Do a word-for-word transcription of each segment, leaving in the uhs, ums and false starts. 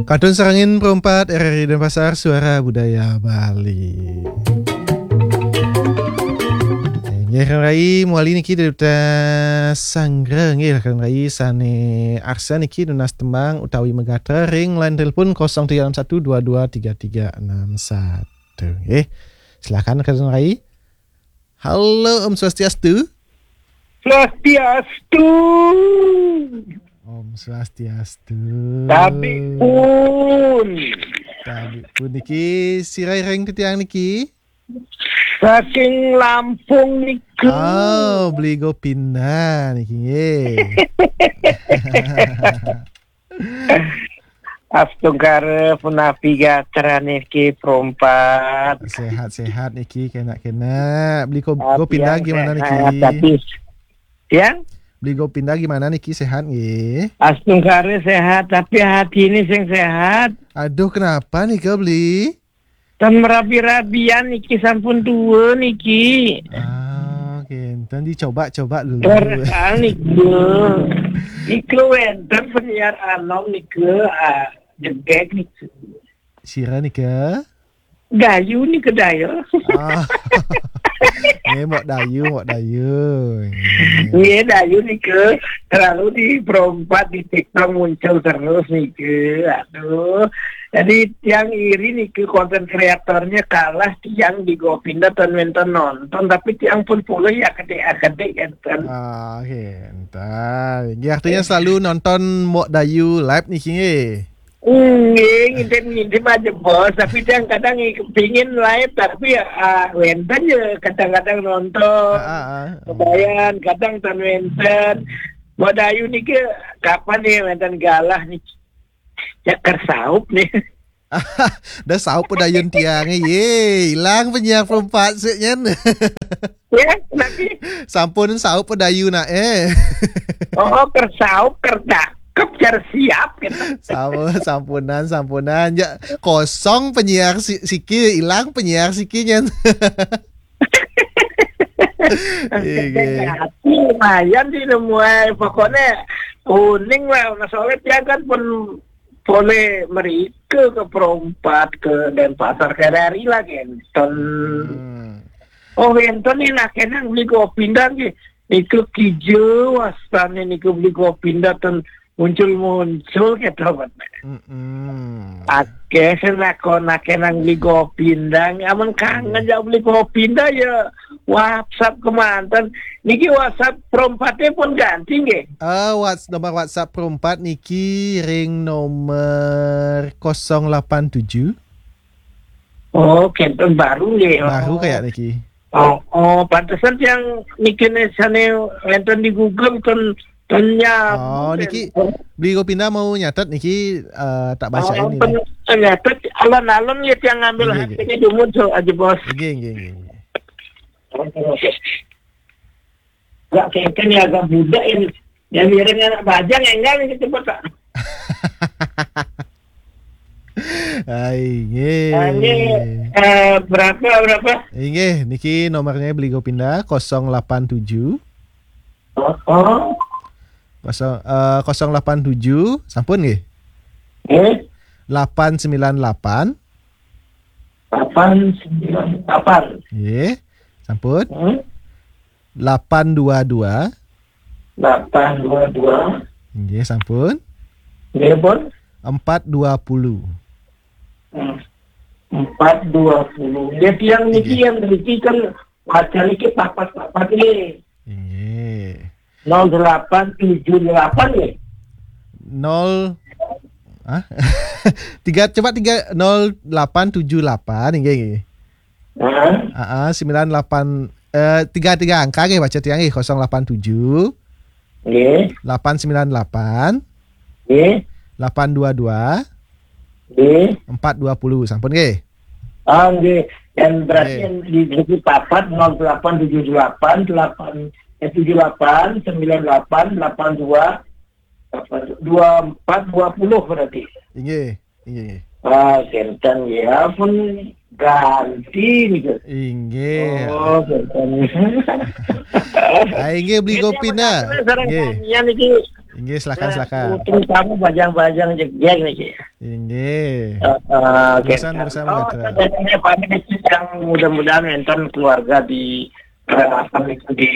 Kantun sareng perempat R R I Denpasar, Suara Budaya Bali. Nggih, Rai, mawali niki dari Duta Sanggra, nggih, Rai sane arsa niki nunas tembang utawi magatra ring line telepon kosong tiga enam satu dua dua tiga tiga enam satu, nggih. Silakan, Rai. Halo, Om Swastiastu. Swastiastu. Om Swastiastu. Tabi pun. Tabi pun niki, sira ring titiang niki. Saking Lampung niku. Oh, Beli Gopinda niki, nggih. Astungkara punapi gatra niki, perempat. Sehat-sehat niki, kena-kena. Beli Go-, Gopinda gimana niki? Tapi, tiang? Beli Gopinda gimana niki, sehat nggih? Astungkara sehat, tapi hati ini sing sehat. Aduh, kenapa nika, Beli? Tan merabi-rabian niki, sampun tua niki. Ah, oke. Tan dicoba-coba dulu. Ora niki. Niki wenten penyiar anom niki, ah, jegeg niki. Sira nika? Dayu niki, Dayu. Ah. Nggih, Mbok Dayu, Mbok Dayu. Nggih, Dayu niki selalu di perempat, di TikTok muncul terus niki. Aduh. Jadi tiang iri niki, konten kreatornya kalah tiang di Gopinda, tan wenten nonton, tapi tiang pun puluh ya, kedik-kedik enten. Ah, oke, entar. Nggih, artinya selalu nonton Mbok Dayu live niki, nggih. Nggih, ngintip-ngintip aja, Bos. Tapi tiang kadang kepingin live, tapi ya, ah, wenten ya kadang-kadang nonton. Ah, ah, ah. Kebayan, kadang tan wenten. Mbok Dayu niki kapan ya wenten galah niki? Ya, kersaup nih. Dah saup pedayun tiang, ye, ilang penyiar perempat sik nyen. Ya, nanti. Sampun saup pedayun nak, eh. Oh, kersaup, kerdakep, jar siap gitu. Sampun, sampunan, sampunan. Ya, kosong penyiar si-, siki, ilang penyiar siki nyen. Iya. Lumayan sih nemu ae. Pokoknya uning lah, Mas Oleh, tiang kan pun boleh merike ke perempat, ke Denpasar, ke R R I lah, enten. Hmm. Oh, enten nih, nah, kenang Beli Gopinda nggih. Niku kija wastane niku Beli Gopinda ten muncul-muncul gitu, Pak. Mm-mm. Akeh sing nakon, akeh nang Beli Gopinda. Amun kangen ya Beli Gopinda ya WhatsApp kemanten. Niki WhatsApp perempatnya pun ganti nggih. Eh, whats-, nomor WhatsApp perempat niki ring nomor kosong delapan tujuh. Oh, kenten baru nggih. Baru kayak niki. Oh, oh, pantesan yang niki sane wenten di Google ten, ten nyambung. Oh, niki Beli Gopinda mau nyatet niki, eh, tak baca ini. Nyatet alon-alon ya, yang ngambil. Nggih, nggih. Hati ini dulu, so aja, Bos. Nggih, nggih, nggih, nggih. Oke, oke. Gak kenten ya, agak budak ini. Ya, miring anak bajang, enggak ini cepet, Pak. Ai, nggih. Nah, ini, eh, berapa, berapa? Inggih, niki nomornya Beli Gopinda, kosong delapan tujuh. Oh, oh. Kosong, eh, kosong delapan tujuh, sampun nggih? Eh? Delapan sembilan delapan. Delapan sembilan delapan. Nggih, sampun. Hmm? Delapan dua dua. Delapan dua dua. Nggih, sampun. Nggih, pun. Empat dua puluh. Hmm. Empat dua puluh. Ya, tiang niki, nggih, yang niki kan macam niki papat-papat nggih. Nggih. Nol delapan tujuh delapan nggih. Nol, ah? Tiga, coba tiga, nol delapan tujuh delapan, nggih, nggih. Heeh. Ah, ah, sembilan delapan, eh, tiga, tiga angka nggih, baca tiang nggih, kosong delapan tujuh. Nggih. Delapan sembilan delapan. Nggih. Delapan dua dua. Nggih. Empat dua puluh, sampun nggih? Ah, nggih. Dan berarti, nggih, yang di, di papat nol delapan tujuh delapan, delapan, eh, tujuh delapan, sembilan delapan, delapan dua, dua empat, dua puluh berarti. Inggih, inggih, inggih. Ah, kenten ya, pun ganti nih, Gus. Inggih. Oh, kenten. Ah, inggih, Beli Gopinda. Nggih. Niki Inggih, silakan, silakan. Terutama bajang-bajang jegjeg niki. Inggih. Eh, eh, Urusan, urusan Oh, begitu. Yang mudah-mudahan enten keluarga di, eh, apa itu, di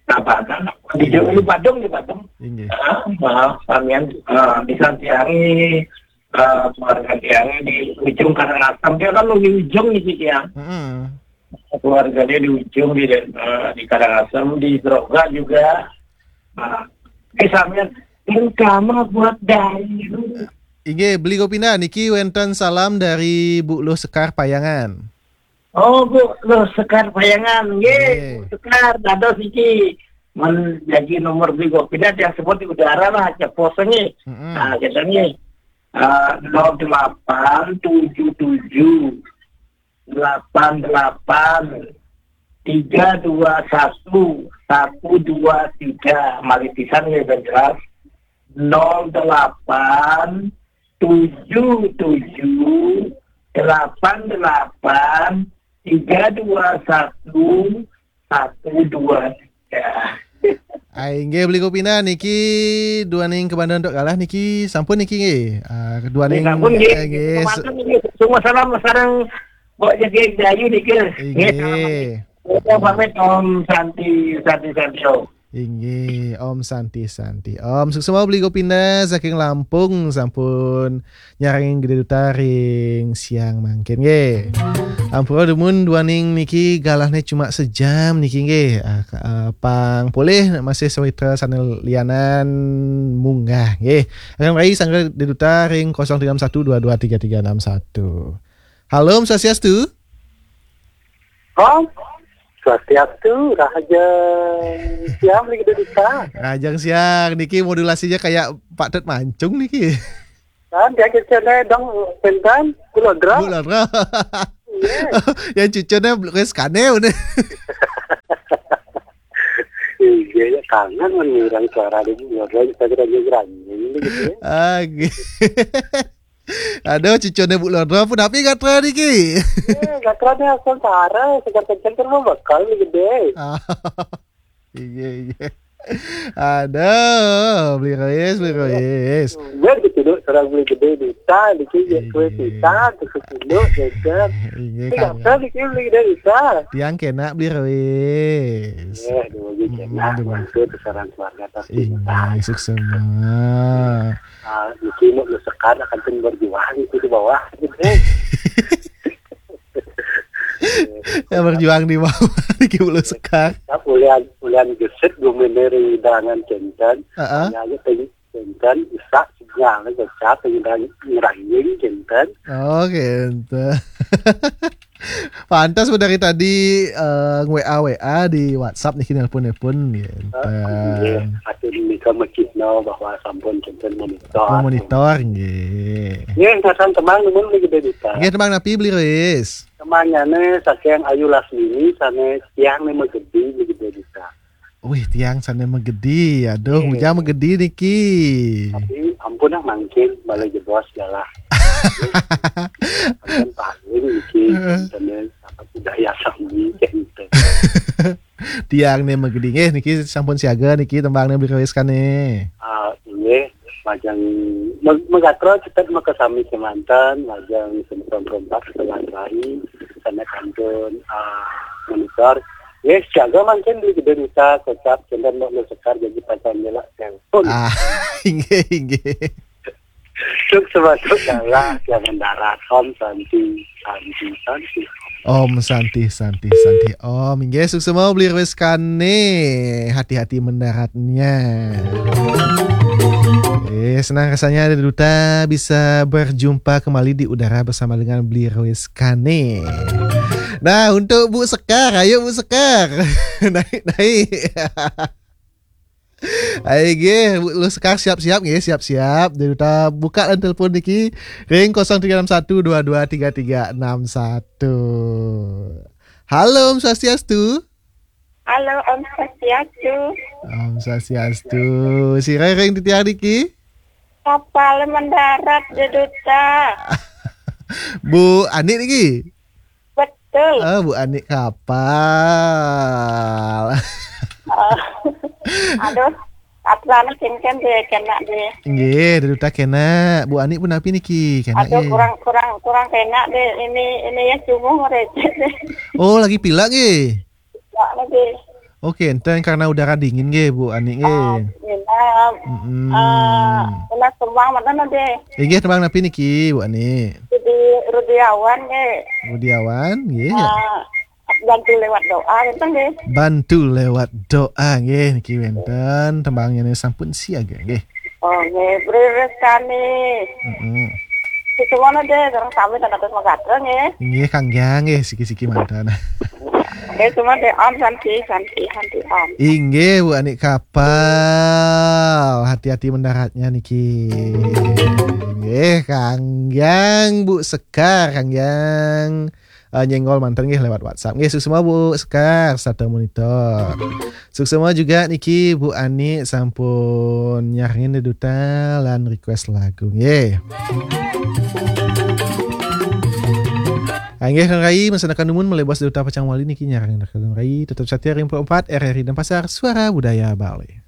Tabanan, di Julu Badung, di Badung. Inggih. Eh, eh, samian, eh, di Santiari, eh, keluarga Tiari di ujung Karangasem. Dia kan di ujung nih, Tiang. Keluarganya di ujung, di, eh, di Karangasem, di Droga juga. Nah, di samian, terutama buat dari Inggih, Beli Gopina, niki wenten salam dari Bu Luh Sekar Payangan. Oh, Bu Luh Sekar Payangan, nggih, Bu Sekar, dados iki. Men jadi nomor Beli Gopina yang sebut di udara lah, cepos nggih. Mm-mm. Nah, kita nggih. Eh, nol delapan tujuh tujuh delapan delapan tiga dua satu satu dua tiga. Malih pisan ya, ben jelas. Nol delapan tujuh tujuh delapan delapan tiga dua satu satu dua tiga. Ai, nggih, Beli Gopina niki duaning kebanda untuk galah niki, sampun niki nggih. Ah, duaning, sampun nggih. Eh, nggih. Semua salam sareng Mbok Jegeg Dayu niki. Nggih, salam. Nggih. Pamit, Om Santi, Santi, Santi, Om. Inggih, Om Santi, Santi. Om, suksma Beli Gopina saking Lampung sampun nyarengin Gede Duta ring siang mangkin nggih. Ampura dumun duaning niki galahne cuma sejam niki nggih. Ah, ka-, ah, pang polih masih sawitra sane lianan munggah nggih. Akan rai sangga Gede Duta ring kosong tiga enam satu dua dua tiga tiga enam satu. Halo, Om Swastiastu. Om Swastiastu, rahajeng siang, Beli Gede Duta. Rahajeng siang, niki modulasinya kayak Pak Tut Mancung niki. Kan dia kecilnya dong, pinten, Kulodro. Kulodro. Iya. Yang cucune wis kane, udah. Iya, ya, kangen men ngiring suara di Kulodro, kita kira ngiring gitu ya. Ah, nggih. Aduh, cucune Bu Lodro pun tapi gatra niki. Eh, gatrane asal sare, segar kenceng kan mau bakal nih gede. Ah, iya, iya. Aduh, Beli Rois, Beli Rois. Bener gitu, Dok. Seorang Beli Gede Duta, niki ya kue Iya. Duta, terus dulu, ya kan. Iya, Ini kangen. Gatel niki Beli Gede Duta. Tiang kena Beli Rois. Eh, dulu gitu. Mm, Nah, dulu. Itu seorang keluarga tapi Iya, sukses semua. Ah, niki mau lu sekarang akan pun berjuang itu di bawah gitu. Ya, berjuang di bawah niki mau lu sekar. Tapi ulian, ulian gesit gumener hidangan kenten. Heeh. Ya, aja teng-, kenten, isak, sinyal, kecap, ngerang-, ngerangin kenten. Oh, kenten. Pantas udah dari tadi, eh, nge-W A, W A di WhatsApp niki, nelpon-nelpon, gitu. Ah, iya, akhirnya nika mekihno bahwa sampun kenten monitor. Oh, monitor, nggih. Nggih, sasan tembang numun Beli Gede Duta. Nggih, tembang napi, Beli Rois? Tembangane saking Ayu Lasmini, sane Tiang Ne Megedi, Beli Gede Duta. Wih, Tiang sane megedi. Aduh, Iya. Mujang megedi niki. Tapi ampun lah, mangkin balik jebos galah. Ampun paling niki, Heeh. Kenten apa budaya sami, kenten. Tiang Ne Megedi nggih, niki sampun siaga niki tembang ne Beli Rois kane. Ah, nggih, majeng me-, megatro cetet maka sami kemanten, majeng semeton rompak setelah rai, sana kantun, ah, monitor. Nggih, siaga mangkin Beli Gede Duta, kocap, kenten mau sekar jadi pacar nyelak telepon. Ah, inggih, inggih. Suk sebatu kalah, jangan darat, Om Santi, Santi, Santi. Om Santi, Santi, Santi. Om, inggih, sukses mau Beli Rois kane. Hati-hati mendaratnya. Eh, senang rasanya ada Duta bisa berjumpa kembali di udara bersama dengan Beli Rois kane. Nah, untuk Bu Sekar, ayo Bu Sekar. Naik, naik. Ayo, nggih, Bu Sekar siap-siap, nggih, siap-siap. Jadi kita buka lan telepon niki ring kosong tiga enam satu dua dua tiga tiga enam satu. Halo, Om Swastiastu. Halo, Om Swastiastu. Om Swastiastu. Sira ring titiang niki? Kapal mendarat, Gede Duta. Bu Ani niki? Betul. Ah, Bu Ani kapal. Oh. Aduh, Atlana kéngkén deh, kena deh. Nggih, da duta kena. Bu Ani pun napi niki? Kena. Aduh, nggih. Kurang, kurang, kurang kena deh. Ini, ini ya cuma receh deh. Oh, lagi pilek nggih? Pilek lagi. Oke, enten karena udara dingin nggih, Bu Ani nggih. Ah, nginep. Mm-mm. Ah, kena tembang mana deh? Inggih, tembang napi niki, Bu Ani? Rudi, Rudiawan nggih. Rudiawan nggih. Ah, bantu lewat doa gitu nggih. Bantu lewat doa nggih, niki wénten tembangnya nih, sampun siaga nggih. Oh, nggih, Bri Reskani. Mm-mm. Semuanya deh, orang sami dan atas magatra nggih. Nggih, Kang Jang nggih, siki-siki manten. Nggih, semua deh, Om Santi, Santi, Santi, Om. Inggih, Bu Ani kapal. Hati-hati mendaratnya niki. Nggih, Kang Jang, Bu Sekar, Kang Jang. Eh, nyenggol manten nggih lewat WhatsApp. Nggih, suksma Bu Sekar, sarta monitor. Suksma juga niki Bu Ani sampun nyarengin duta lan request lagu nggih. Inggih, Kang Rai, masa numun malih bos duta pacang wali niki nyarengin Kang Rai. Tetap setia ring empat R R I Denpasar, Suara Budaya Bali.